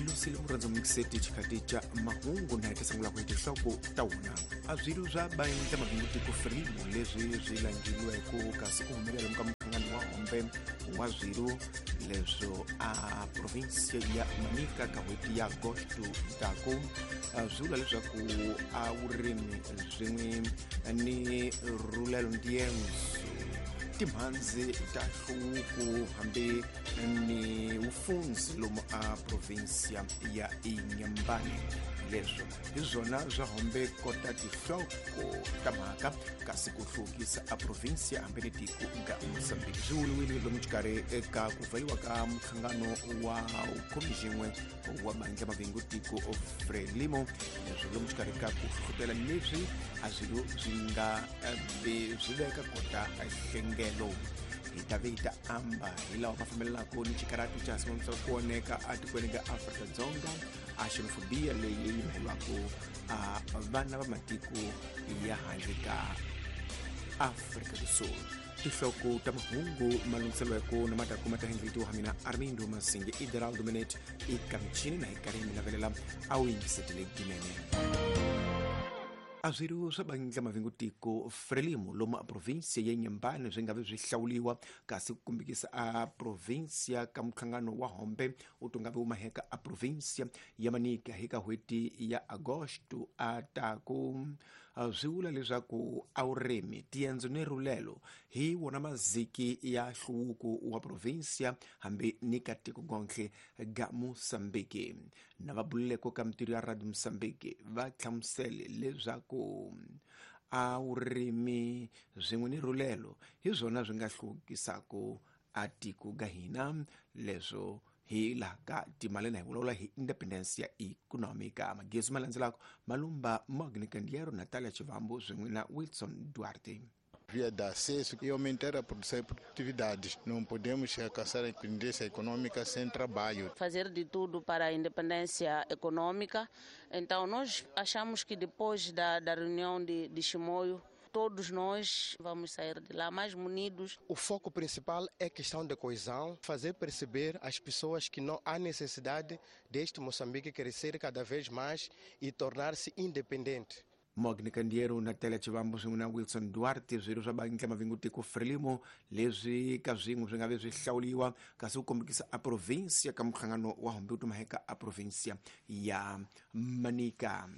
Hi lusile murhandzi mixeti xikati xa mahungu na hi ta sungula ku hi tinhloko ta wona. A swilo swa bandla mabingu tiko Frelimo leswi swi langiliweke kasi ku humelela lomu ka muhlangano wa hombe wa swilo leswo a provinsia ya Manica ka n'hweti ya Agosto taku swi vula leswaku a vurimi swin'we ni rhulelo ndiyenso timhandzi ta nhluvuko hambi ni vufundzi lomu a provinsia ya Inhambane. Leswo hi swona swa hombe kota tinhloko ta mhaka kasi ku hluvukisa a provinsia hambi ni tiko ga Mozambique swi vuriwile lomu xikarhi eka ku pfariwa ka muhlangano wa khomixin'we wa bandla mavingu tiko Frelimo, leswo lomu xikarhi ka ku hlohlotela leswi a swilo swi nga swi veka kota hlengelo. Hi ta ve hi ta amba hi lawa ma fambelelaka ni xikaratu xa simamisa ku oneka atikweni ka Afrika-Dzonga a xenofobia leyi yi mhelwaka a vana va matiko ya handle ka Afrika do Sul. Tinhloko ta mahungu malunghiselweko na mataku ma ta hengiletiwa ha mina Armindo Masinge Ideraldo Minet eka michini na hi karhi mi navelela a wu yingisetele ginene. A swilo swa bandla mavingu tiko Frelimo lomu a provinsia ya Inhambane swi nga vi swi hlawuliwa kasi ku kumbikisa a provinsia ka muhlangano wa hombe u to nga vi wu maheka a provinsia ya Manica hi ka n'hweti ya Agosto a taku. Swi vula leswaku a vurimi tiendzo ni rhulelo hi wona maziki ya nhluvuko wa provinsia hambi ni ka tiko gontlhe ga Mozambique. Na va bululeko ka mintirho ya Radio Mozambique va hlamusele leswaku a vurimi swin'we ni rhulelo hi swona swi nga hluvukisaka a tiko ga hina, leswo hi laha ka timali na hi vulavula hi independence ya economica. Magezi ma landzelaka Malumba Mogni Kandiero, Natalia Chivambo swin'we na Wilson Duarte. Via de acesso e aumentar a produção e produtividade. Não podemos alcançar a independência econômica sem trabalho. Fazer de tudo para a independência econômica. Então, nós achamos que depois da reunião de Chimoio, todos nós vamos sair de lá mais munidos. O foco principal é a questão da coesão, fazer perceber às pessoas que não há necessidade deste Moçambique crescer cada vez mais e tornar-se independente. Mogni Kandiero, Natalia Chivambo swin'we na Wilson Duarte, swilo swa bandla mavingu tiko Frelimo leswi ka swin'we swi nga vi swi hlawuliwa kasi ku kombekisa a provinsia ka muhlangano wa hombe wu tumaheka a provinsia ya Manica.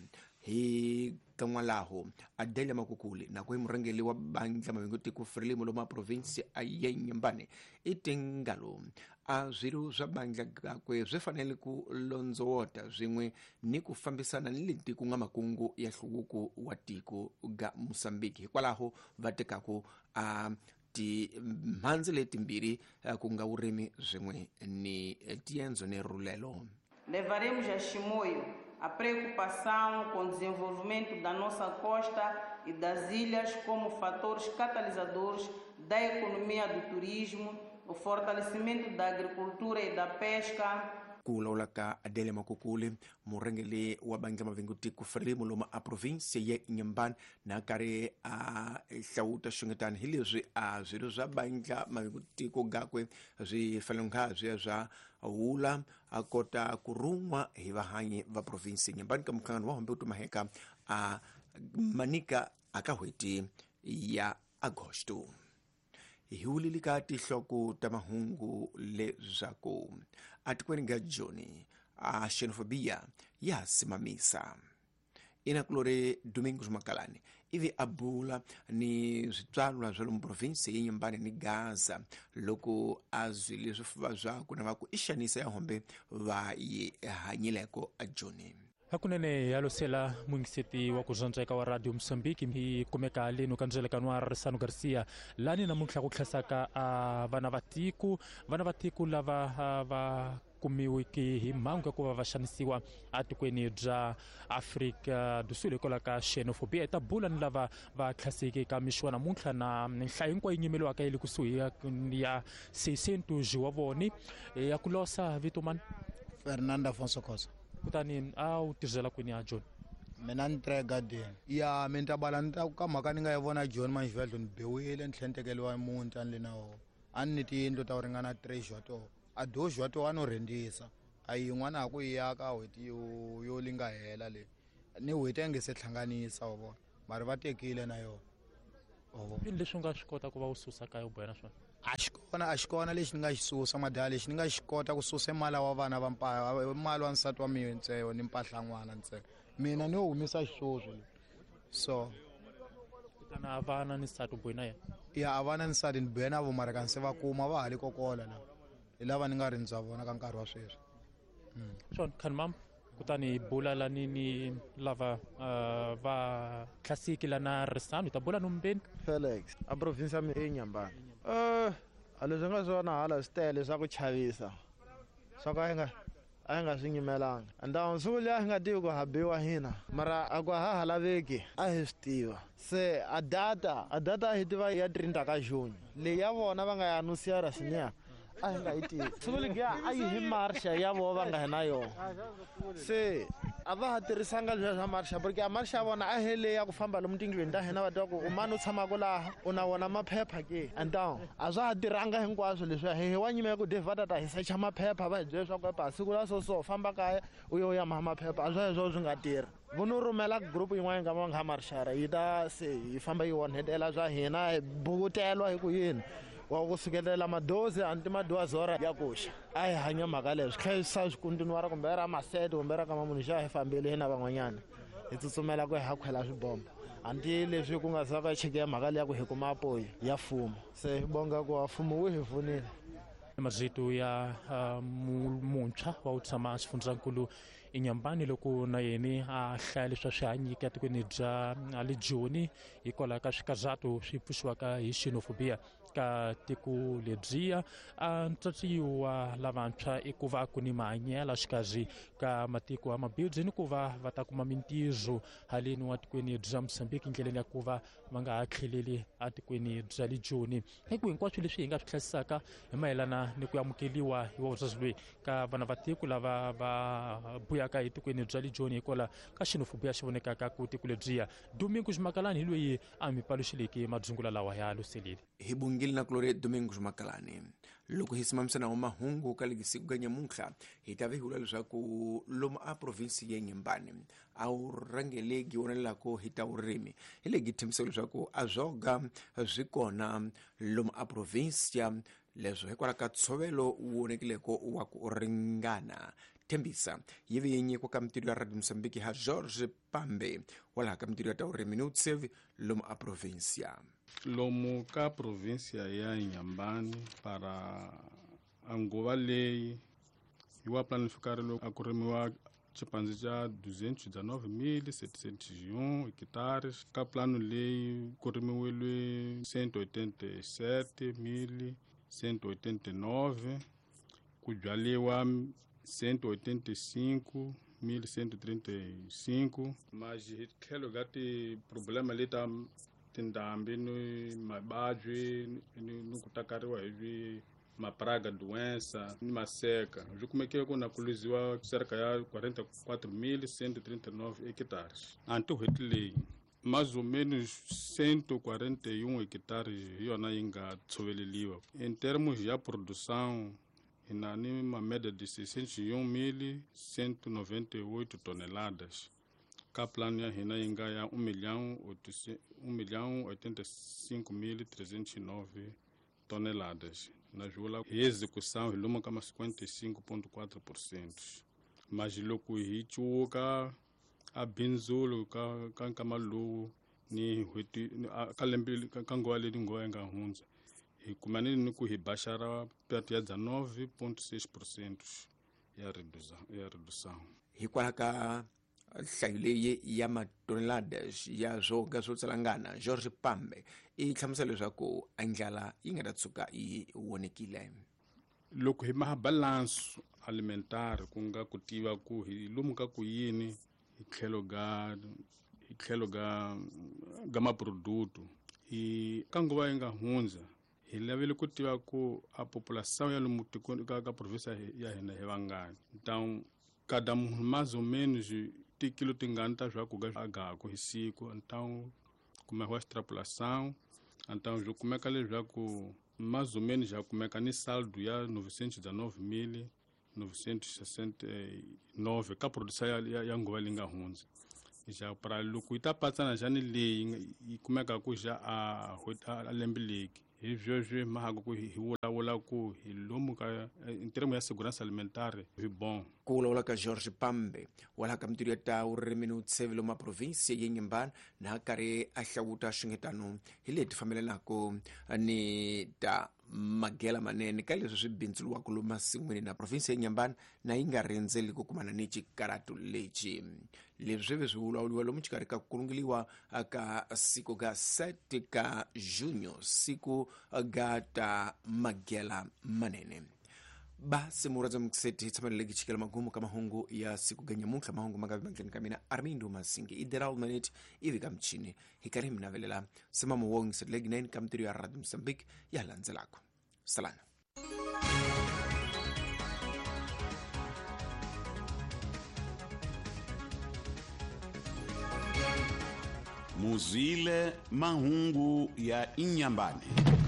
Hi kan'walaho Adelia Makukuli nako hi murhangeri wa bandla mavingu tiko Frelimo lomu a provinsia a Inhambane i tingalo a swilo swa bandla gakwe swi fanele ku londzowota swin'we ni ku fambisana ni leti ku nga makungu ya nhluvuko wa tiko ga Mozambique. Hikwalaho va tekaku a timhandzi letimbirhi ku nga vurimi swin'we ni tiendzo ni rhulelo. Levaremos a Chimoio a preocupação com o desenvolvimento da nossa costa e das ilhas como fatores catalisadores da economia do turismo, o fortalecimento da agricultura e da pesca. Ku lawula ka Adelia Makukuli, murhangeri wa bandla mavingu tiko Frelimo lomu a provinsia ya Inhambane na karhi a hlawuta xungetani hi leswi a swilo swa bandla mavingu tiko gakwe swi fanele nga swi ya swa wula a kota ku run'wa hi vahanyi va provinsia Inhambane ka muhlangano wa hombe wu tumaheka a Manica a ka n'hweti ya Agosto. Hi wulile ka tinhloko ta mahungu leswaku atikweni ga Joni a xenofobia ya simamisa. Inakulori Domingos Makalani ivi a bula ni switswalwa swa lomu provinsi ya Inhambane ni Gaza loko a zwile swifuva swakwe na va ku i xanisa ya hombe va yi hanyileko a Joni. Hakunene ya losela mungiseti wa ku zwandzeka wa Radio Mozambique hi kumeka leno ka ndzelekano wa Risano Garcia lani namuntlha ku tlhasaka a vana va tiko lava va kumiweke hi mhangu ya ku va va xanisiwa atikweni bya Afrika do Sul hikwalaho ka xenofobia. Ta bula ni lava va tlhaseke ka mixo wa namuntlha na nhlayo hinkwayo yi nyimeliwaka yi le kusuhi ya 600 wa voni ya ku losa vito mani Fernando Afonso Cosa. Kutani a wu tirhela kwini ya John? Mina ni tirha egadeni. Ya mina ta bala ni ta ka mhaka ni nga yi vona John manjivhedlo ni biwile ni tlhela ni tekeriwa muti a ni le na wona. A ni tiyindlu ta ku ringana 3 jwa toho. A do jwa toho a no rhentisa. A yin'wana a ku yi ya ka n'hweti yo li nga hela leyi ni n'hweti a nge se hlanganisa wa vona mara va tekile na yona wa vona. Yini leswi u nga swi kota ku va u susa kaya u boha na swona? A xi kona, a xi kona lexi ni nga xi susa madala, lexi ni nga xi kota ku susa mali wa vana va mali wa nsati wa mina ntsena ni mpahla n'wana ntsena. Mina ni yo humesa xiswoswo so kutani a vana ni nsati u bohi na yena? Ya, a vana ni nsati ni bohe na vo mara kanse va kuma va ha le kokola la hi lava ni nga rindza vona ka nkarhi wa sweswi. Swona Khanimam, kutani hi bula lani ni lava va tlhasiki lana Risano, hi ta bula nombeni. Felix, a province ya mina i Nyambani. A leswi nga swona hala swi tele swa ku chavisa swa ku a hi nga swi nyimelanga. Ndhawu siku liya hi nga tivi ku ha biwa hina mara a ku ha ha laveki a hi swi tiva. Se a data a hi tiva ya 30 ka June leyi ya vona va nga ya anusiara siniya a hi nga yi tivi. Siku liya a yi hi marsha ya vona va nga hi na yona. Se a va ha tirhisanga leswiya swa marsha porque a marsha ya vona a hi leyi ya ku famba lomu tindlwini ta hina va tiva ku u mani u tshamaka laha u na wona maphepha ke. Então a swa ha tirhanga hinkwaswo leswiya hi wa nyimela ku Dave va ta ta hi secha maphepha va hi byela leswaku epa siku la so so famba kaya u yo ya maha maphepha a swa heswo swi nga tirhi. Vo no rhumela group yin'wana ka va nga marshara yi ta se yi famba yi onhetela swa hina hi bukutelwa hi ku yini wa ku sukelela madozi anti madoazora ya kuxa a hi hanya mhaka leyo swi tlhela swi swi kuntinuwara kumbe ra masete kumbe ra kama munhu xa hi fambile hina van'wanyana hi tsutsumela ku hi ha khwela swibombo anti leswi ku nga za ka cheke mhaka leya ku hi kuma apoyi ya mfumo se hi bonga ku mfumo wu hi pfunile. Mazito ya muntshwa wa ku tshama xifundzankulu eNyambani loko na yena a hlaya leswi a swi hanyike etikweni bya le Joni hikwalaho ka swikazato swi pfuxiwaka hi xenophobia ka tiko lebyiya. A ntswatsiyo wa lavantshwa i ku va ku ni mahanyelo xikarhi ka matiko ya mabindzu ni ku va va ta kuma mintirho haleni wa tikweni bya Mozambique ndleleni ya ku va va nga ha tlheleli etikweni bya le Joni. Hi ku hinkwaswo leswi hi nga swi hlayisaka hi mayelana ni ku amukeliwa hi wa loyi ka vana va tiko lava va buyaka etikweni bya le Joni hikwalaho ka xenophobia xi vonekaka ku tiko lebyiya. Domingos Makalani hi loyi a mi paluxeleke madzungula lawa ya luselile. Hi bungile na kulore Domingos Makalani. Loko hi simamisana wa mahungu ka lesiku ka nyamuntlha hi ta vihula leswaku lomu a province ya Nyambani a wu rhangeleki wonelako hi ta vurimi hi legi thembisa leswaku a zwoga swi kona lomu a province ya leswo hikwalaho ka ntshovelo wu vonekileko wa ku ringana. Thembisa yi ve yi nyikiwa ka mintirho ya Radio Mozambique ha George Pambe walaha ka mintirho ya ta vurimi ni vutsevi lomu a provincia. Lomu ka provincia ya Nyambani para a nguva leyi hi wa planifikari loko a ku rimiwa xipandzi xa 219,701 hekitares. Ka plano leyi ku rimiwile 187,189, ku byaliwa 185,135. Mas hi tlhelo ka ti-problema leta tindhambi ni mavabyi ni ku takariwa hi mapraga doença ni maseka swi kumekile ku na ku luziwa cerca ya 44,139 hectares. Anti n'hweti leyi mais ou menos 141 hectares hi yona yi nga tshoveleliwa. Em termos ya produção hi na ni uma média de 601.198 toneladas. Ka plano ya hina yi nga ya 1,085,309 toneladas. Na vula hi execução hi lomu ka ma 55.4%. Mas loko hi cuka a bindzulo ka nkama lowu ni n'hweti ka lembe ka nguva leyi nguva yi nga hundza hi kumanile ni ku hi baxara perto ya 19.6% ya redução. Hikwalaho ka nhlayo leyi ya matoneladas ya swoga swo tsalangana, George Pambe i hlamusela leswaku a ndlala yi nga ta tshuka yi vonekile. Loko hi maha balance alimentar ku nga ku tiva ku hi lomu ka ku yini hi tlhelo ga maproduto hi ka nguva yi nga hundza hi lavele ku tiva ku a population ya lomu tikweni ka province ya hina hi vangani. Então cada munhu mais ou menos tikilo tingani ta swakudya a gaku hi siku. Então kumekiwa extrapolação. Então swi kumeka leswaku mais ou menos ya kumeka ni saldo ya 919.000 969 ka producer ya nguva leyi nga hundza. Ja para loko yi ta patsana jani leyi yi kumeka ku ja a lembe leki hi sweswi mahaka ku hi vulavula ku hi lomu ka in termo ya segurança alimentare hi bon. Ku vulavula ka George Pambe walaha ka mintirho ya ta vurimi ni vutshevelo ma provinsi ya Inhambane na karhi a hlawuta swingetano hi leti fambelanaka ni ta magela manene ka leswi swi bindzuriwaka lomu masin'wini na provinsi ya Inhambane na yi nga rindzeli ku kumana ni xikaratu lexi. Leswi swi ve swi vulavuriwa lomu xikarhi ka ku kulungeliwa ka siku ga 7 ka junho, siku ga ta magela manene. Basi muradza mukiseti tshameleleki chikela magumu ka mahungu ya siku ga nyamuntlha. Mahungu ma nga vi mandleni ka mina Armindo Masingi Iderald Manet ivi ka michini hi karhi hi mi navelela simamo wo ngisetleki 9 ka mintirho ya Radio Mozambique ya landzelaka. Salana. Muzwile mahungu ya Inhambane.